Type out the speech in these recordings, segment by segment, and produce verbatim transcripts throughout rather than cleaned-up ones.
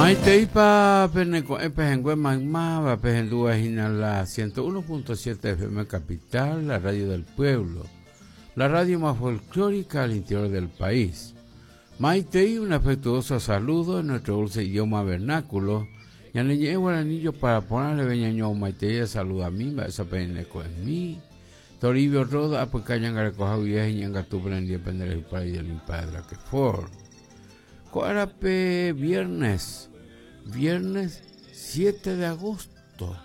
Maiteipa peneko'ẽ pehẽngue maymáva pehendúva hína la ciento uno punto siete F M Capital, la radio del pueblo, la radio más folclórica al interior del país. Maitei, un afectuoso saludo en nuestro dulce idioma vernáculo. Ñane ñe'ẽ guaranillo para ponerle veñaño maitei saluda a mí, esa peneko'ẽ mi. Toribio Roda, apyka ñangarekoha guive ñangatu prendí pendereju para y del padre que for. Ko'árape viernes, viernes siete de agosto.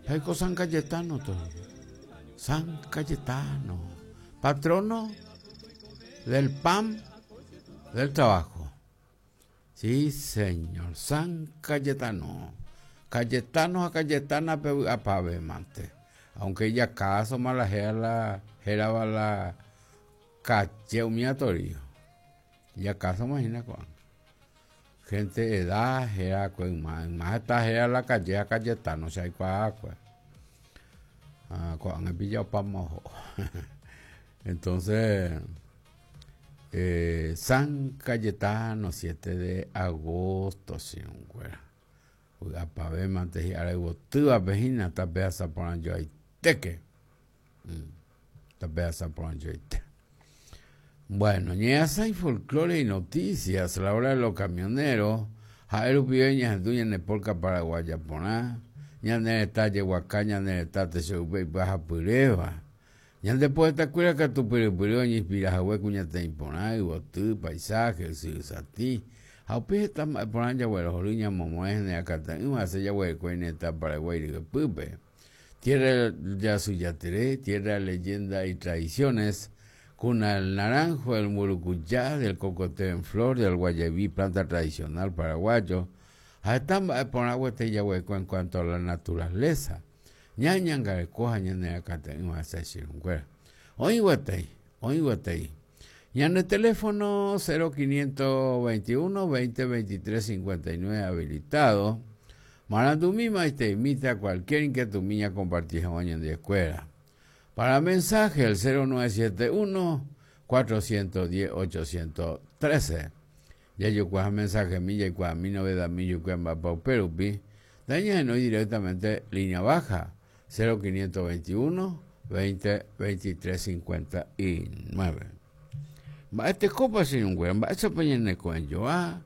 Jaiko San Cayetano, Toribio. San Cayetano, patrono del pan del trabajo. Sí, señor, San Cayetano. Cayetano a Cayetana pe apave mante. Aunque ella caso mala la geraba la calle umía Toribio. Ya caso imagina con gente de edad gera con más más está gera la calle a Cayetano, se hay cuá cuá. Ah, con el pillado pa mojo. Entonces eh, San Cayetano, siete de agosto, sí, un cuera. Apave mante y ahora botúa pejina tapea saporan yo ahí teque. Tapea saporan yo ahí te. Bueno, ñeasa y folclore y noticias, la hora de los camioneros, Jaeru Pibeña, Duña Nepolca, Paraguaya, Poná, Ñane Talle, Huacá, Ñane Tate, Seupe, Baja Pureva. Ñande poeta cuira que tu piripireo, ñispira, jahue, cuñate, imponá, ibotú, paisaje, sati. Jaupi está poná, yagüero, joruña, momoes, neacata, ima, se yagüe, cueneta, Paraguay, pupe. Tierra de Asuyateré, tierra de leyenda y tradiciones. Cuna del naranjo, del murucuyá, del cocoteo en flor, del guayabí, planta tradicional paraguayo. En cuanto a la naturaleza. Y en el teléfono cero quinientos veintiuno, veinte, veintitrés, cincuenta y nueve habilitado. Marandumima y te imita cualquier inquietud mía compartida en la escuela. Para mensaje, el cero nueve siete uno, cuatrocientos diez, ochocientos trece. Ya yo cuaja mensaje milla y cuaja mi novedad millo cuaja pau perupi. Daña no directamente línea baja, cero quinientos veintiuno, veinte, veintitrés, cincuenta y nueve. Va este copa sin un güey, va esa peña en el cuello, ah,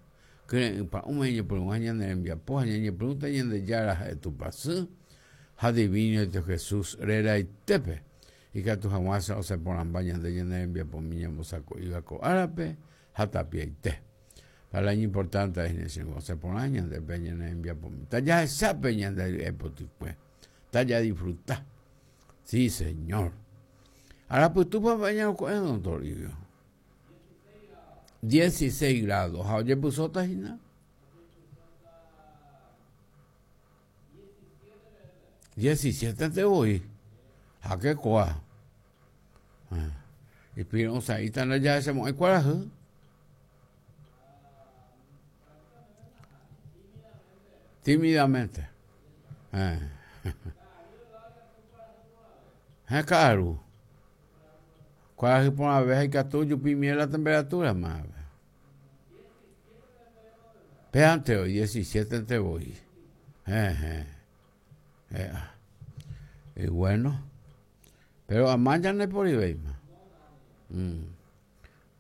que pa un año por un año en el enviapo, año pregunta año de yara de tu pasú, adivino de Jesús rera y tepe. Y que tu jamás o se ponen bañas de llenar envía por mi saco iba co árabe hasta pie y te. Para el año importante es en se ponen años de peña en envía por mi. Ya esa peña de pues. Está ya disfruta. Sí, señor. Ahora pues tú vas a bañar con el don Toribio. dieciséis grados. Oye, puso tajina. diecisiete te voy. ¿A qué coa? Y pero, o sea, ahí están allá, se mueve cuál tímidamente. Eh. Es caro. ¿Cuál es por una vez hay que tú pimienta la temperatura más? Pero hoy, diecisiete te voy. Eh, eh. Eh. Y bueno. Pero a mañana por ahí, mm.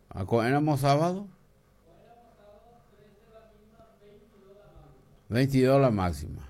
¿A éramos sábado? veintidós la máxima.